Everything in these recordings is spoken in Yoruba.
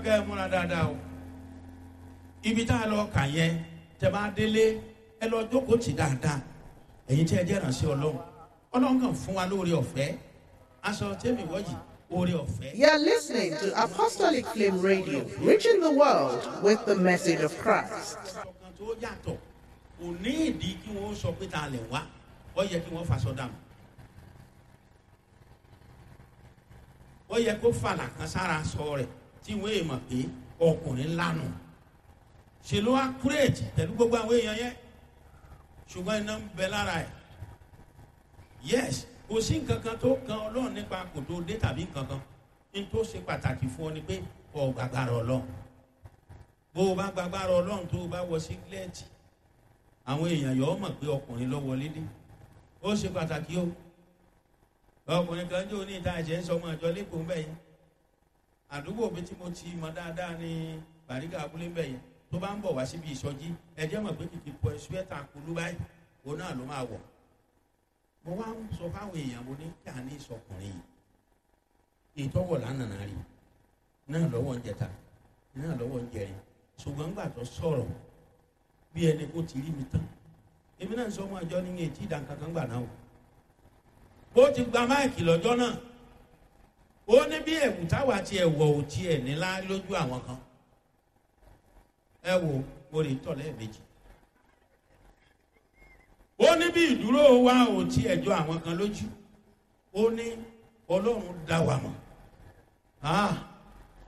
kẹ́ ẹ múra dáadáa o. Ibi tá a lọ kà yẹn, tẹ bá délé, ẹ lọ jókòó tì dáadáa. Ẹ̀yin tí ẹ jẹ́ ìrànṣẹ́ Ọlọ́run, Ọlọ́run kàn fún wa lóore ọ̀fẹ́ aṣọ tẹ́mi wọ́jì, oore ọ̀fẹ́. You're listening to Apostolic Flame Radio, reaching the world with the message of Christ. Ọkàn tó yàtọ̀ kò ní ìdí kí wọ́n sọ pé ta lẹ̀ wá, ó yẹ kí wọ́n faṣọ dànù, ó yẹ kó fàlà kan sára sọ rẹ̀ tí wọ́n èèmọ̀ pé ọkùnrin lánàá. Ṣe ló wá kúrèjì pẹ̀lú gbogbo àwọn èèyàn yẹn, ṣùgbọ́n iná ń bẹ lára ẹ̀. Yes, kò sí nǹkan kan tó kan Ọlọ́run nípa kò tó dé tàbí nǹkan kan. Ní tó ṣe pàtàkì fún ọ ni pé ọ gbàgbára Ọlọ́run. Bó o bá gbàgbára Ọlọ́run, tó o bá wọ sígílẹ́ẹ̀tì, àwọn èèyàn yọ̀ ọ́ mọ̀ pé ọkùnrin ló wọlé dé. Ó ṣe pàtàkì o. Ọkùnrin kan jó ní ìta ẹ̀jẹ̀ ń sọ ọmọ ìjọ lẹ́kọ̀ọ́ ń bẹ̀ yẹn. Àdúgbò mi tí mo ti mọ dáadáa ní Bàrígà abúlé ń bẹ̀ yẹn. Tó bá ń bọ̀ wá síbi ìsọjí, ẹ̀jẹ̀ mọ̀ pé kìkì pọ̀ ṣúẹ́tà kulú báyìí òun náà ló máa wọ̀. Mo wá ń sọ fáwọn èèyàn, mo ní kí a ní ìsọkùnrin yìí ìtọ́wọ̀ lánàá rí náà lọ́wọ́ ń jẹta náà lọ́wọ́ ń jẹrin. Ṣùgbọ́n gbà tó sọ̀rọ̀ bí ẹni kó ti rí mi tán, èmi náà ń sọ ọmọ àjọ ní etí ìdánkankan gbà náà o. Ó ti gba máìkì lọ́jọ́ náà. Ó ní bí ẹ̀wù táwa ti ẹ̀wọ̀ ò tiẹ̀ nílá lójú àwọn kan. Ẹ wo, mo lè tọ̀ lẹ́ẹ̀mejì. Ó ní bí ìdúró wa ò tí ẹjọ́ àwọn kan lójú. Ó ní Ọlọ́run dá wa mọ̀.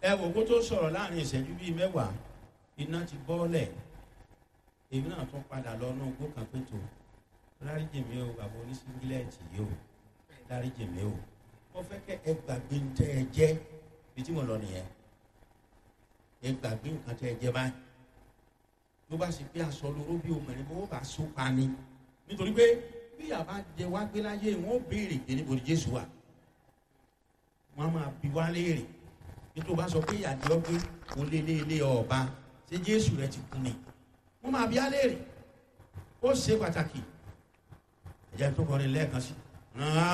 Ẹ wò kó tó sọ̀rọ̀, láàrin ìṣẹ́jú bíi 10, iná ti bọ́ọ̀lẹ̀. Èmi náà tún padà lọ náà gbó kan pé tó dáríjì mi o, bàbá oníṣíngílẹ̀tì yìí o, dáríjì mi o. Mo fẹ́ kẹ́ ẹ gbàgbé ń tẹ́ ẹ jẹ́ bí tí mo lọ nìyẹn. Ẹ gbàgbé nǹkan tẹ́ ẹ jẹ́ báyìí. Ló bá sì pé aṣọ lóró bí obìnrin bó bá so pa ni, nítorí pé bí àbá jẹ wá gbé láyé, wọn ó béèrè pé níbo ni Jésù wà. Wọn á máa bi wá léèrè. Nítorí bá sọ pé ìyàdí ọgbẹ oléléèlé ọba, ṣé Jésù rẹ ti kú ni? Wọn máa bi á léèrè. Ó ṣe pàtàkì. Ẹ̀jẹ̀ tó kọrin lẹ́ẹ̀kan sí.